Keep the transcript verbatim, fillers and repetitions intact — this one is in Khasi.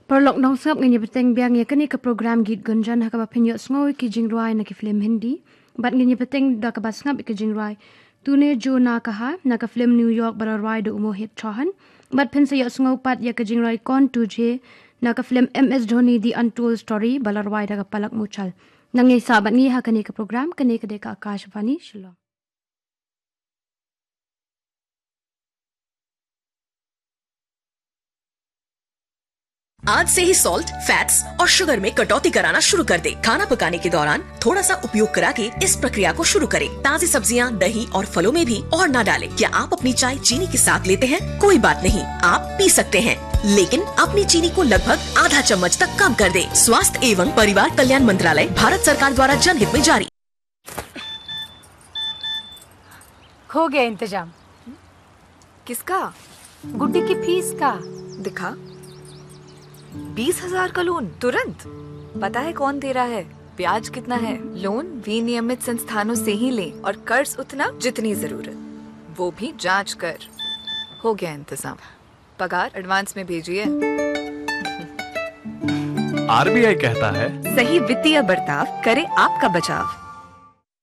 Paralok nongsngap, ngin ïa bteng biang ïa kane ka program Geet Gunjan ha kaba phin ïohsngew ïa ki jingrwai na ki film Hindi. Bad ngin ïa bteng da kaba sngap ïa ki jingrwai Tune Jo Na Kaha na ka film New York ba la rwai da u Mohit Chauhan. Bad phin sa ïohsngew pat ïa ka jingrwai Kaun Tujhe na ka film M S Dhoni The Untold Story ba la rwai da ka Palak Muchal. Nang ïa sah bad ngi ha kane ka program, kane ka dei ka Akashvani Shillong. आज से ही सॉल्ट, फैट्स और शुगर में कटौती कराना शुरू कर दें। खाना पकाने के दौरान थोड़ा सा उपयोग करा के इस प्रक्रिया को शुरू करें। ताजी सब्जियां, दही और फलों में भी और ना डालें। क्या आप अपनी चाय चीनी के साथ लेते हैं? कोई बात नहीं, आप पी सकते हैं, लेकिन अपनी चीनी को लगभग आधा चम्मच तक कम कर दें। स्वास्थ्य एवं परिवार कल्याण मंत्रालय, भारत सरकार द्वारा जनहित में जारी। हो गया इंतजाम। किसका? गुड्डी की फीस का। दिखा। बीस हजार का लोन तुरंत। पता है कौन दे रहा है, ब्याज कितना है? लोन विनियमित संस्थानों से ही लें और कर्ज उतना जितनी जरूरत, वो भी जांच कर। हो गया इंतजाम। पगार एडवांस में भेजिए। आरबीआई कहता है, सही वित्तीय बर्ताव करे आपका बचाव।